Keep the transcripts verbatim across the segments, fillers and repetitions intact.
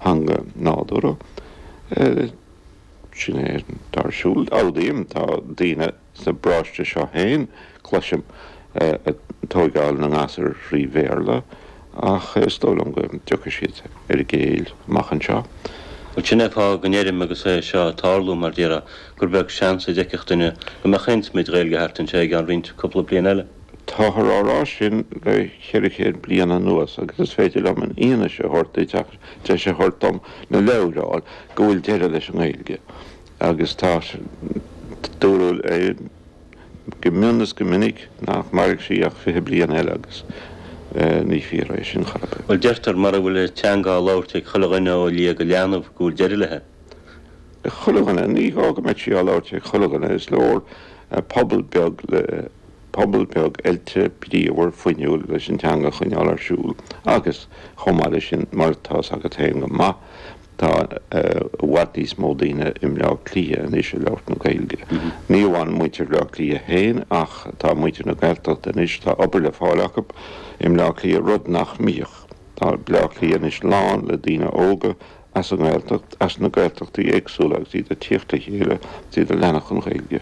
theanga nádúrtha. Sin é atá ar siúl. Admhaím, tá daoine sa bparóiste seo féin, cloisim, ag tóigeáil na ngasúr thrí Bhéarla ach is dóigh liom go dtiocfaidh siad ar a gcéill amach anseo. Bhuel, sin é an fáth go ndeirim agus é seo ag tarlú, mar déarfá, gur beag seans a d'fheicfeadh duine go mbeadh aon smid Ghaeilge thart anseo i gceann roinnt cúpla bliain eile. Táthar á rá sin le ceithre chéad bliain anuas agus is féidir liom an fhianaise a thabhairt duit ach deis a thabhairt dom na leabhair a fháil go bhfuil deireadh leis an nGaeilge agus tá dúradh go mion is go minic nach mairfidh sí ach fiche bliain eile agus ní fíor é sin chor ar bith. Bhuel, deirtear mura bhfuil an teanga á labhairt ag chuile dhuine ó liath go leanbh go bhfuil deireadh léi. Chuile dhuine, ní gá go mbeadh sí á labhairt ag chuile dhuine, is leor pobal beag le pobal beag oilte, bríomhar, fuinniúil leis an teanga a choinneáil ar siúl agus chomh maith leis sin, mar atá 's agat féin go maith, tá i bhfad níos mó daoine i mBleá Cliath anois ag labhairt na Gaeilge. Ní amháin muintir Bhleá Cliath féin ach tá muintir na Gaeltachta anois, tá obair le fáil acu i mBleá Cliath, rud nach mbíodh. Tá Bleá Cliath anois lán le daoine óga as an nGaeltacht, as na Gaeltachtaí éagsúla agus iad ag tíocht le chéile agus iad ag leanacht an Ghaeilge.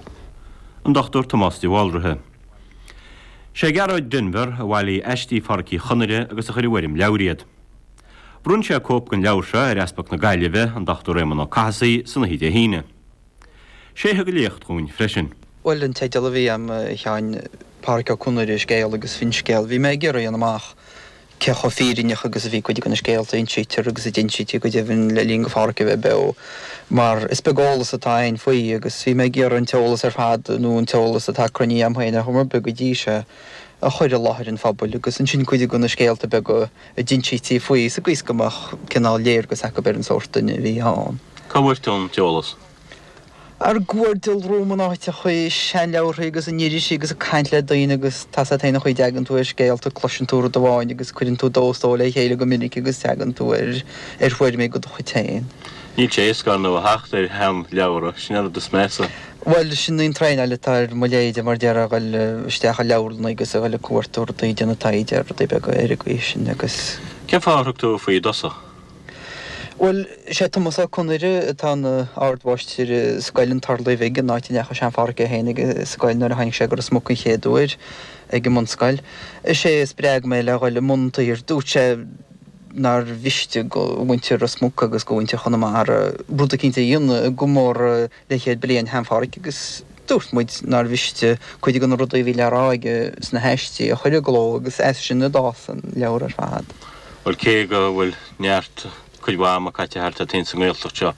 An Dochtúir Tomás de Bhaldraithe. Sé Gearóid Denvir a bhailigh aistí Phádhraic Uí Chonaire agus a chuir i bhfoirm leabhair iad. Bhronn sé cóip den leabhar seo ar Easpag na Gaillimhe, an Dochtúir Éamon Ó Cathasaigh, san oíche Dé hAoine. Sé a thug an léacht dhúinn freisin. Bhuel, an teideal a bhí a'm, a Sheáin, Pádhraic Ó Conaire, Scéal agus Finscéal. Bhí mé ag iarraidh a dhéanamh amach cé chomh fírinneach agus a bhí cuid de na scéalta a insítear agus a d'insítí go deimhin le linn do Phádhraic a bheith beo, mar is beag eolas atá a'inn faoi agus bhí mé ag iarraidh an t-eolas ar fad nó an t-eolas atá cruinnithe a'm féin ar chuma ar bith go dtí seo a chur i láthair an phobail agus ansin cuid de na scéalta beaga a d'insítí faoi sa gcaoi is go mbeadh cineál léargas acu ar an sórt duine a bhí ann. Cá bhfuair tú an t-eolas? Ar cuardaigh romham in áiteachaí, seanleabharthaí agus in irisí agus ag caint le daoine agus tá 's a't féin an chaoi a dtagann tú ar scéalta, cloiseann tú rud amháin agus cuireann tú dó is dó le chéile go minic agus tagann tú ar ar thuairimí de do chuid féin. Níl sé éasca ar ndóigh a theacht ar sheanleabhra, sin an rud is measa. Bhuel, sin í an traenáil atá ar mo leithéide mar déarfá, a ghoil isteach i leabharlanna agus a ghoil ag cuartú rudaí, déanamh taighde ar rudaí beaga ar an gcaoi sin agus. Cén fáth ar thug tú faoi i dtosach? Bhuel, sé Tomás Ó Conaire atá ina ardmháistir i Scoil an Turlaigh Bhig, an áit a ndeachaigh sean-Phádhraic é féin ag an scoil nuair a tháinig sé go Ros Muc an chéad uair ag an mbunscoil. Is é a spreag mé le dhul i mbun an tsaothair. Dúirt sé nár mhiste go mhuintir Ros Muc agus go mhuintir Chonamara rud eicínt a dhéanamh i gcomóradh leathchéad bliain shean-Phádhraic agus dúirt muid nár mhiste cuid de na rudaí a bhí le rá aige sna haistí a chur i gcló agus as sin a d'fhás an leabhar ar fad. Bhuel, cé go bhfuil neart cuid mhaith ama caite thart a't féin sa nGaeltacht seo,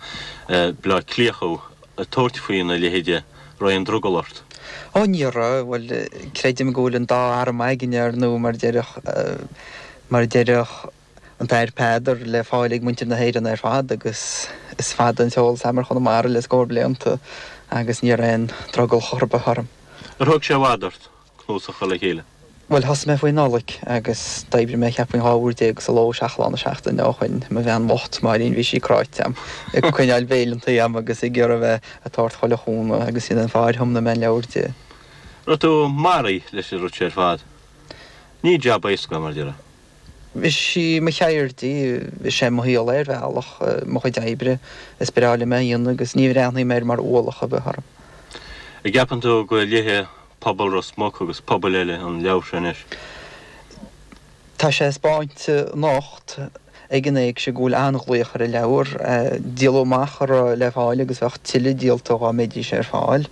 Bleá Cliath thú, ag tabhairt faoina leithéide, raibh aon drogall ort? Ó ní raibh, bhuel, creidim go bhfuil an dá arm againne, ar ndóigh, mar a déarfadh, mar a déarfadh an tAthair Peadar, le fáil ag muintir na hÉireann ar fad agus is fada an t-eolas a'm ar Chonamara le scór blianta agus ní raibh aon drogall chor ar bith orm. Ar thóg sé i bhfad ort cnuasach a chur le chéile? Bhuel, thosaigh mé faoi Nollaig agus d'oibrigh mé cheapfainn dhá uair déag sa ló, seacht lá na seachtaine ó shoin. Mo bhean bhocht, Máirín, bhí sí cráite a'm, ag coinneáil béileantaí a'm agus ag iarraidh a bheith ag tabhairt chuile chúnamh agus sin an fáth ar thiomnaigh mé an leabhar di. Raibh tú maraithe leis an rud seo ar fad. Ní jab éasca é, mar a déarfá. Is í mo cheird í, is é mo shaol é ar bhealach, mo chuid oibre. Is breá liom é a dhéanamh agus ní bhreathnaím air mar ualach ar bith orm. An gceapann tú go léifidh pobal Ros Muc agus pobail eile an leabhar seo anois? Tá sé ag 'speáint anocht ag an éigse go bhfuil an-ghlaoch ar an leabhar. Díoladh amach a raibh le fáil agus bheadh tuilleadh díolta dhá mbeidís ar fáil.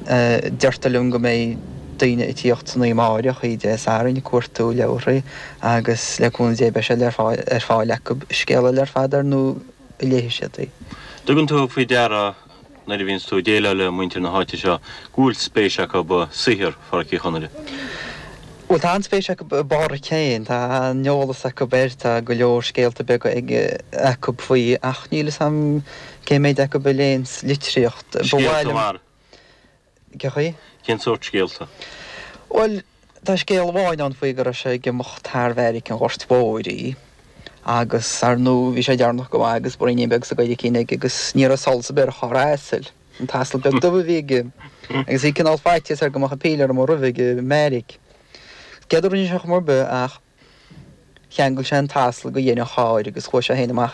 Deirtear liom go mbeidh daoine ag tíocht san oíche amáireach, oíche Dé Sathairn, ag cuartú leabharthaí agus le cúnamh Dé beidh sé ar fáil acu. Scéal eile ar fad ar ndóigh an léifidh siad í. Tugann tú faoi deara nuair a bhíonns tú ag déileáil le muintir na háite seo, go bhfuil spéis acu i saothar Phádhraic Uí Chonaire. Bhuel, tá an-spéis acu i bPádhraic féin, tá an-eolas acu air, tá go leor scéalta beaga acu faoi, ach níl fhios a'm cé méid acu a léanns litríocht. Ba mhaith Scéalta liom. mar? Cé chaoi? Cén sórt scéalta? Bhuel, tá scéal amháin ann faoi go raibh sé ag imeacht thar bheairic an Ghoirt Mhóir í agus, ar ndóigh, bhí sé deireanach go maith agus braoinín beag sa gcoiricín aige agus ní raibh solas ar bith ar charr a asail, an t-asal beag dubh a bhí aige, agus bhí cineál faitíos air go mbeadh an píléar amuigh roimhe ag an mbeairic. Céard a rinne sé chuma ar bith ach cheangail sé an t-asal go dhéin an chairr agus chuaigh sé féin amach